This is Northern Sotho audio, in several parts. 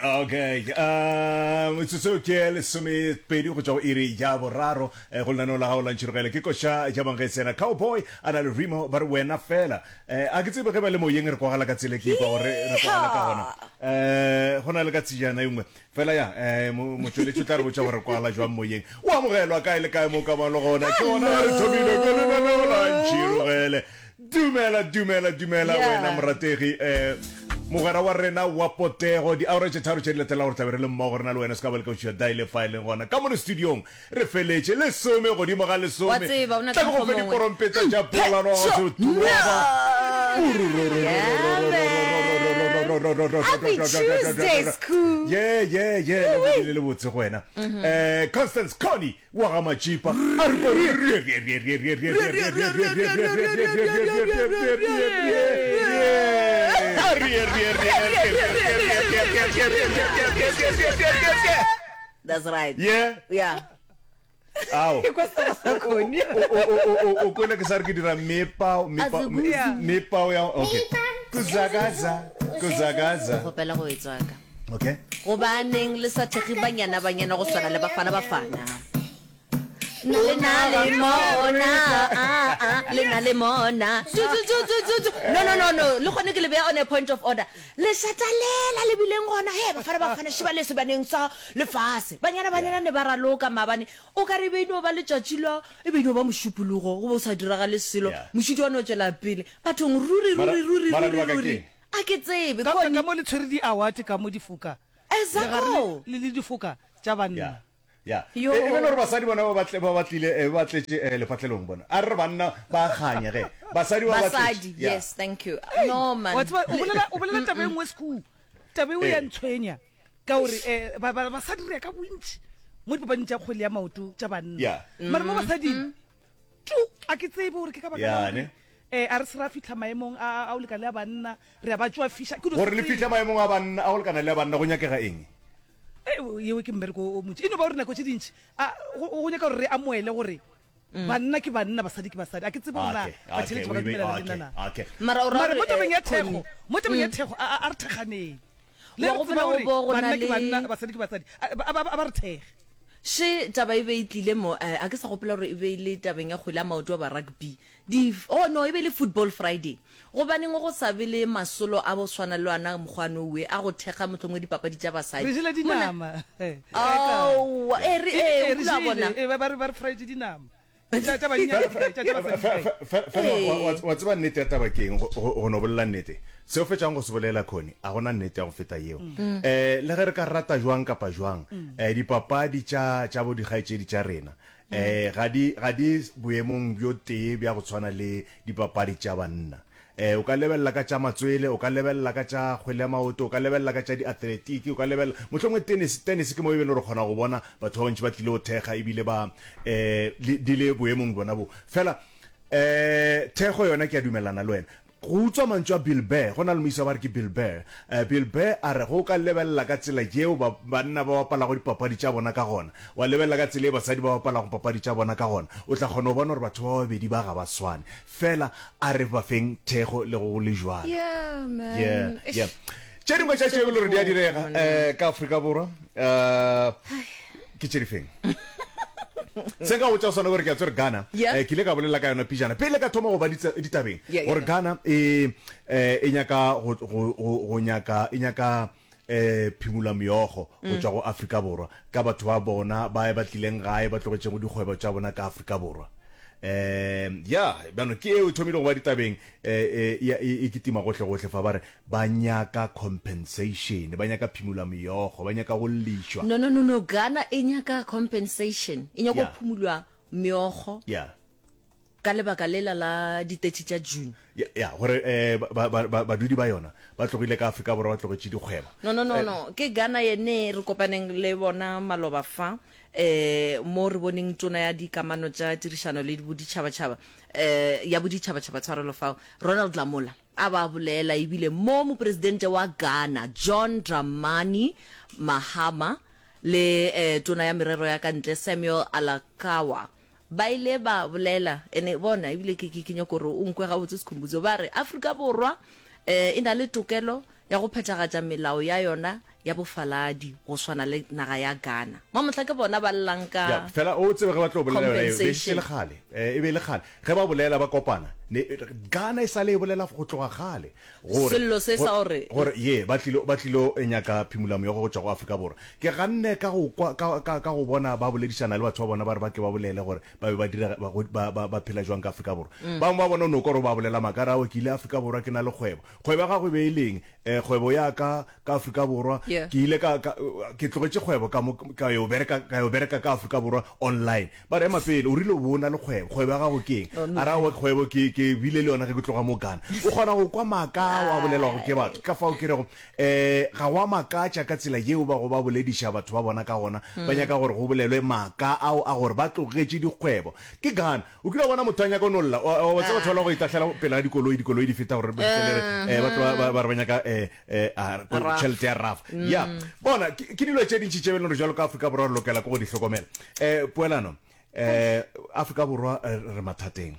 Okay, um, metsotso ke lesomepedi go tšwa go iri ya boraro eh, go lenaneo la gago la ntšhirogele ke koša ya bangetsena cowboy a na le remo ba re wena fela eh, a ke tsebe ge ba le moyeng re kwagala ka tsela ke ikwa gore re kwagala ka gona eh, go na le ka tsejana e nngwe fela ya eh, motšweletši o tla re botša gore re kwagala jwang moyeng o amogelwa kae le kae mo ka bang le gona ke gona re thomile ke lenaneo la ntšhirogele Dumela, dumela, dumela Yeah. wena morategi eh mogwera wa rena wa potego diaura tše tharo tše di latelago re tlabe re le mmogo rena le wena se ka ba le ka uša daile fa e leng gona ka mono studiong re feletše lesome godimo ga Wa lesome tseba, o na tla ka ke go mokgwa fe mongwe. diporompeta tša polano Mphetšo, Yeah, man. Happy Tuesday, Skhoo. ye ye ye le le botse go wena eh Constance Connie Wa ga Matšipa a re That's right. Yeah. Yeah. Ao. Ke kwa sera sa Connie. O kwele ke sa re ke dira mepao mepao mepao ya okay. Kuzakaza kuzakaza. Kgopela go e tswaka. Okay. Gobaneng le sa thekge banyana banyana go swana le bafana bafana? Le na le mona, ah, ah, le na le mona. Tu, tu, tu, tu, tu, tu. No, no, no, no. Le gone ke le beya on a point of order. Lešata lela le bileng gona, he, bafana bafana šiba le sebaneng sa lefase. Banyana banyana ne ba raloka maabane. O ka re e be e no ba letšatši la, e be e no ba mošupologo, go be go sa diragale selo. Yeah. Mošito wa no tšwela pele. Bathong, ruri, Mara, ruri, ruri, mara ruri, lebaka ruri. keng? A ke tsebe, Ka, Connie. ka mo le tshwere di-award ka mo difoka. Le gare Exaco. le, le difoka tša banna. Ya. Ya. Yo. E, e be le gore basadi bona ba batle ba batlile eh, ba tletše eh, lefatlelong bona. A re re banna ba kganya ge. Basadi ba ba tletše. Basadi, Ya. yes, thank you. No, man. Wa tseba, o bolela, o bolela taba e nngwe Skhoo. Taba eo ya Ee. ntshwenya ka gore eh, ba, ba, basadi re ya ka bontši mo dipapading tša kgwele ya maoto tša banna. Ya. Mara mo basading, Tu! A ke tsebe gore ke ka baka la Ya, gore ne? eh, a re se ra fihla maemong a, a, a go lekana le a banna, re a ba tšwafiša. Ke no Gore se le tsebe. fihle maemong a banna, a go lekana le a banna, go nyakega eng? Eh, yeo ke mmereko o montši. E no ba gore nako tše dintši, a, go, go nyaka gore re amoele gore banna ke banna, basadi ke basadi. A ke tsebe gore na Okay, okay, batheeletši ba ka we be, dumelana le okay, nna na. okay. Mara o ra Mara gore, mo tabeng eh, ya thekgo, Connie, mo tabeng ya thekgo, a, a, a re thekganeng. Le Wa re gopola tseba go gore bo go na banna ke le- banna, basadi ke basadi. A, ba, ba, ba re thekge. Še taba e be e tlile mo, eh, a ke sa gopola gore e be e le tabeng ya kgwele ya maoto goba rugby. Di, oh no, e be e le Football Friday. Gobaneng go sa be le masolo a go swana le ona mokgwa nowe a go thekga mohlomongwe dipapadi tša basadi? Re jele Mona, dinama. Kae kae. aowa, eh, re, E, eh, e, o re kile wa jele. bona. E, ba, ba re, ba re fraetše dinama. Tša, tša bannyane di kae? Tša, tša basadi di kae? Fela wa, wa, Ee. wa tseba nnete ya taba ke eng? Go, go, go no bolela nnete. Se o fetšago go se bolela, Connie, a go na nnete ya go feta yeo. Eh, le ge re ka rata jwang kapa jwang, eh, dipapadi tša, tša bo dikgaetšedi tša rena, eh, ga di, ga di boemong bjo tee bja go tshwana le dipapadi tša banna. Eh, o ka lebelela ka tša matswele, o ka lebelela ka tša kgwele ya maoto, o ka lebelela ka tša diatletiki, o ka lebelela, mohlomongwe tennis, tennis ke mo e be le gore o kgona go bona batho ba bantši ba tlile go thekga ebile ba, eh, le, di le boemong bjona bo. Fela, eh, thekgo yona ke a dumelelana le wena. Go utswa mantšu a Bill Burr, go na le moisa ba re ke Bill Burr. Eh, Bill Burr a re ge o ka lebelela ka tsela yeo ba, banna ba bapalago dipapadi tša bona ka gona, wa lebelela ka tsela ye basadi ba bapalago papadi tša bona ka gona, o tla kgona go bona gore batho ba babedi ba ga ba swane. Fela a re ba feng thekgo le go le jwalo. Yeah, man. Yeah, Eish. yeah. Tše dingwe tša tšeo e le gore di a direga eh, ka Afrika Borwa eh, ke tše difeng? Se nka botša sona gore ke a tsere Ghana Yeah. eh, ke ile ka bolela ka yona pijana pele ka thoma go ba ditabeng Yeah, yeah, gore yeah. Ghana e eh, e nyaka go, go, go, go nyaka e nyaka eh phimula meokgo go tšwa go Afrika Borwa ka batho ba bona ba ba tlileng gae ba tlogetšego dikgwebo tša bona ka Afrika Borwa. Eh ya bjano ke eo e thomile go ba ditabeng eh e, e, e kitima gohle gohle fa ba re ba nyaka compensation, ba nyaka phimula meokgo, ba nyaka go llišwa. No, no, no, no, Ghana e nyaka compensation, e nyaka go Yeah. phumulwa meokgo. Yeah. Ka lebaka lela la ditetši tša June. Ya, ya, gore eh, ba, ba, ba, badudi ba yona ba tlogile ka Afrika Borwa ba tlogetše dikgwebo. No, no, no, no. Ke Ghana yene re kopaneng le bona maloba fa, eh, mo re boneng tona ya dikamano tša tirišano le boditšhabatšhaba, eh, ya boditšhabatšhaba tshwarelo fao, Ronald Lamola, a ba bolela ebile mo mopresidente wa Ghana, John Dramani Mahama, le eh, tona ya merero ya ka ntle, Samuel Alakawa, Ba ile ba bolela, ene bona, ebile ke, ke, ke nyaka gore o nkwe gabotse Sikhumbuzo, ba re, Afrika Borwa, E na le tokelo ya go phethagatša melao ya yona ya bofaladi go swana le naga ya Ghana. Mamohla ke bona ba llang ka Ya, fela o tsebe ge ba tlo bolela yona eo, be e šetše compensation. le kgale. Eh, e be e le kgale. Ge ba bolela ba kopana, ne, Ghana e sale e bolela go tloga kgale gore, Sello se go, sa gore. gore ye, ba tlilo, ba tlilo nyaka phimolameokgo go tšwa go Afrika Borwa. Ke ganne ka go kwa, ka, ka, ka go bona ba boledišana le batho ba bona ba re ba ke ba bolele gore ba be ba dira, ba, ba, ba, ba phela jwang ka Afrika Borwa. Bangwe ba bona o no kwa gore ba bolela maaka, a re, Aowa, ke ile Afrika Borwa ke na le kgwebo. Kgwebo ya gago e be e le eng? Eh, kgwebo ya ka ka Afrika Borwa, Yeah. ke ile ka, ka, ke tlogetše kgwebo ka mo, ka yo bereka, ka yo bereka ka Afrika Borwa online. Ba re, ema pele, o rile o be o na le kgwebo, kgwebo ya gago ke eng? A re, aowa, kgwebo ke, ke bile le yona ge ke tloga mo Ghana. O kgona go kwa maaka ao a bolelwago ke batho. Ka fao ke rego, eh, ga go a makatša ka tsela yeo ba go ba bolediša batho ba bona ka gona, ba nyaka gore go bolelwe maaka ao a gore ba tlogetše dikgwebo. Ke Ghana. O kile wa bona motho a nyaka go no lla? Wa, wa tseba batho ba la go itahlela pele ga dikoloi, dikoloi di feta gore ba fihlele re, eh, ba tlo ba, ba, ba re ba nyaka eh, eh, a, ko- Raf. tšhelete ya raf. Ya, bona, ke, ke dilo tše dintši tše e leng gore jwalo ka Afrika Borwa re lokela ke go di hlokomela. Eh, poelano, eh, Afrika Borwa eh, re mathateng.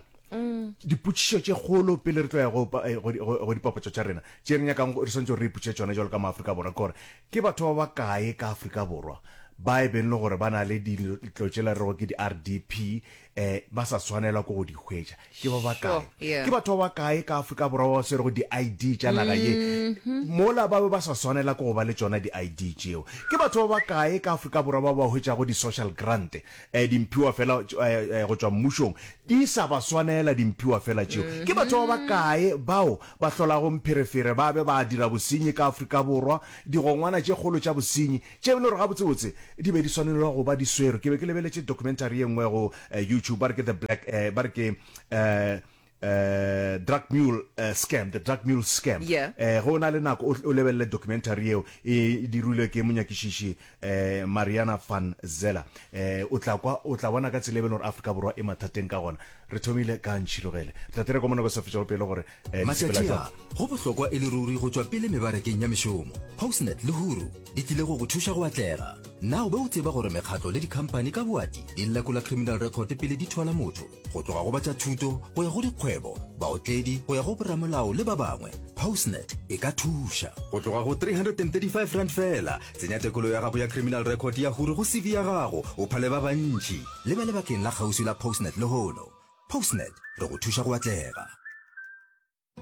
Dipotšišo tše kgolo pele re tlo ya go, pa- eh, go, di- go, go dipapatšo tša rena tše re nyakang go- re swanetše gore re ipotšiše tšona jwalo ka maAfrika Borwa ke gore ke batho ba bakae ka Afrika Borwa ba e beng le gore ba na le dilo tšela re rego ke di-RDP eh ba sa swanelwa ke go di hwetša ke ba bakae Sure, yeah. ke batho ba bakae ka Afrika Borwa ba ba swerego di-ID tša naga ye mola ba be ba sa swanela ke go ba le tšona di-ID tšeo ke batho ba bakae ka Afrika Borwa ba ba hwetšago di-social grant eh dimphiwa fela eh, eh, go tšwa mmušong di sa ba swanela dimphiwa fela tšeo ke batho ba bakae bao ba hlolago mpherefere ba be ba dira bosenyi ka Afrika Borwa digongwana tše kgolo tša bosenyi Tše e le gore gabotsebotse di be di swanelwa go ba di swerwe. Ke be ke lebeletše documentary ye nngwe go YouTube, ba re ke The Black, ba re ke Drug Mule Scam, The Drug Mule Scam. Yeah. Ge o na le nako o lebelele documentary yeo, e dirilwe ke monyakišiši Mariana van Zeller. O tla kwa, o tla bona ka tsela e be e le gore Afrika Borwa e mathateng ka gona. Re thomile ka Ntšhirogele. Re tla tere kwa mo nako e sa fetšego pelo gore di sepela Matšatši a, jwang. go bohlokwa e le ruri go tšwa pele mebarakeng ya mešomo. Postnet le Huru di tlile go go thuša go atlega. Na o be o tseba gore mekgatlo le dikhamphani ka boati di lekola criminal record pele di thwala motho? Go tloga go ba tša thuto go ya go dikgwebo, baotledi go ya go boramolao le ba bangwe, Postnet e ka thuša. Go tloga go R335 feela, tsenya tekolo ya gago ya criminal record ya Huru go CV ya gago o phale ba bantši. Leba lebakeng la kgauswi la Postnet lehono. Postnet, re go thuša go atlega.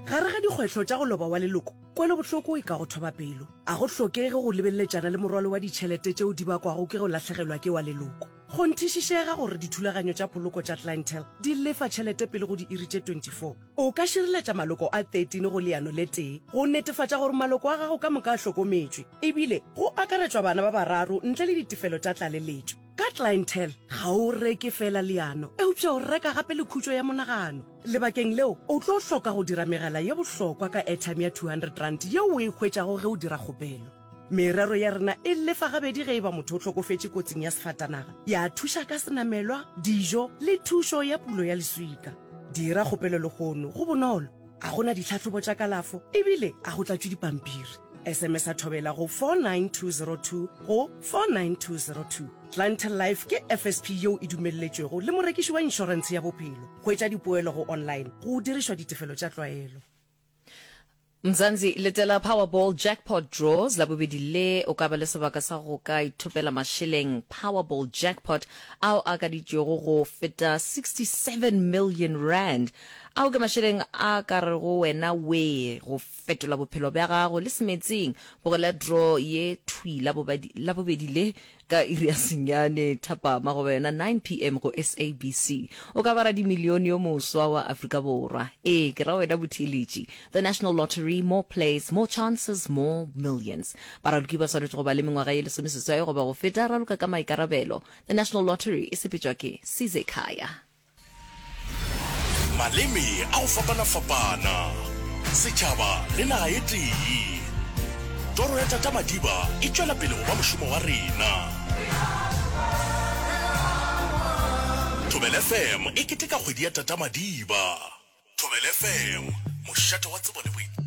Gare ga dikgwetlho tša go loba wa leloko, kwelobohloko e ka go thoba pelo. A go hlokege go lebeleletšana le morwalo wa ditšhelete tšeo di bakwago ke go lahlegelwa ke wa leloko. Kgonthišišega gore dithulaganyo tša poloko tša Clientele di lefa tšhelete pele go diiri tše 24. O ka šireletša maloko a 13 go leano le tee go netefatša gore maloko a gago ka moka a hlokometšwe, ebile go akaretšwa bana ba bararo ntle le ditefelo tša tlaleletšo. Ka Clientele, ga o reke feela leano, eupša o reka gape le khutšo ya monagano. Lebakeng leo, o tlo hloka go dira megala ye bohlokwa ka airtime ya R200 yeo o e hwetšago ge o dira kgopelo. Merero ya rena e lefa gabedi ge e ba motho o hlokofetše kotsing ya sefatanaga, ya thuša ka senamelwa, dijo le thušo ya pulo ya leswika. Dira kgopelo lehono, go bonolo, ga go na ditlhahlobo tša kalafo ebile ga go tlatšwe dipampiri. SMS-a Thobela go 49202 go 49202. Clientele Life ke FSP yeo e dumelletšwego le morekiši wa inšorentshe ya bophelo. Hwetša dipoelo go online go dirišwa ditefelo tša tlwaelo. Mzansi, letela Powerball Jackpot Draws Labobedi le, o ka ba le sebaka sa go ka ithopela mašeleng Powerball Jackpot ao a akaditšwego go feta 67 million rand. Ao ke mašeleng a ka rego wena wee go Fetola bophelo bja gago le semetseng. Bogela draw ye thwi Labobedi le ka iri ya senyane thapama goba yona 9 pm go SABC. O ka ba radimilione yo moswa wa Afrika Borwa. Ee, ke ra wena botheeletši. The National Lottery, more plays, more chances, more millions. Baraloki ba swanetše go ba le mengwaga ye lesomeseswai goba go feta. Raloka ka maikarabelo. The National Lottery e sepetšwa ke Sizekhaya. Maleme a go fapana-fapana, setšhaba le naga e tee. Toro ya Tata Madiba e tšwela pele go ba mošomo wa rena. Thobela FM e keteka kgwedi ya Tata Madiba. Thobela FM, mošate wa tsebo le boithabišo.